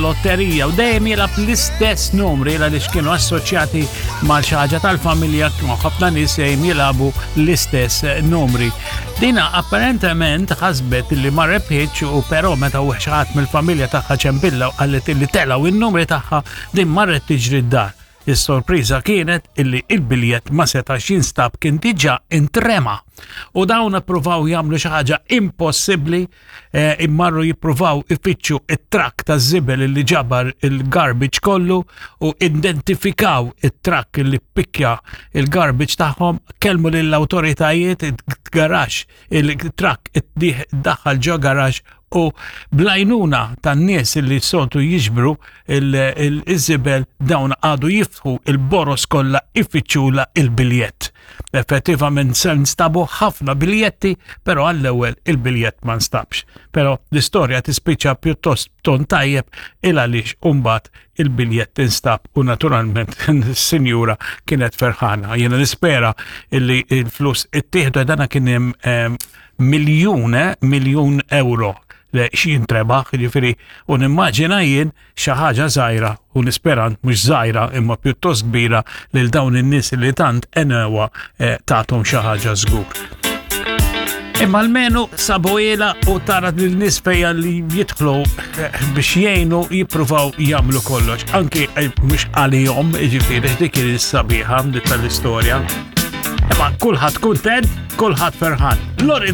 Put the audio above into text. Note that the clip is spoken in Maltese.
Lotterija u dejjem jilgħab l-istess numri għaliex kienu assoċjati ma' xi ħaġa tal-familja kienu ħafna nies dejjem jilagħbu l-istess numri. Dina apparentement ħasbet li ma rebħitx u però meta u xi ħadd mill-familja tagħha ċempilla u qalet li telgħu in-numri tagħha din marret tiġri d-dar. Is-sorpriża kienet illi il-biljett ma setax jinstab kien diġà intrema. U dawn ippruvaw jagħmlu xi ħaġa impossibbli eh, immarru jippruvaw ifittxu it-trakk ta' żibel li ġabar il-garbage kollu u identifikaw it-trakk li pikkja il-garbage tagħhom, kellmu lill-awtoritajiet il-garax, il-trakk daħal ġo garax u blajnuna tan-nies li soltu jiġbru il-żibel dawn għadu jiftħu il-boros kollha ifittxula il-biljett. Effettivament se nstabu ħafna biljetti, però għall-ewwel il-biljett ma nstabx. Però l-istorja tispiċċa pjuttost b'ton tajjeb il għaliex imbagħad il-biljett instab u naturalment is-sinjura kienet ferħana. Jiena nispera illi il-flus ittieħdu dana kien hemm ehm, miljun, eh, miljun euro li x'jintrebaħ, jiġifieri u nimmaġina jien xi ħaġa żgħira u nispera mhux żgħira imma pjuttost kbira lil dawn in-nies li tant enewa eh, tagħthom xi ħaġa żgur. Imma almenu sabu ila u tara lil nies fejja li jidħlu eh, biex jgħinu jippruvaw jagħmlu kollox. Anki eh, mhux għalihom, jiġifieri dik is-sabiħa tal-istorja. Imma kulħadd kuntent, kulħadd ferħan. Lorida!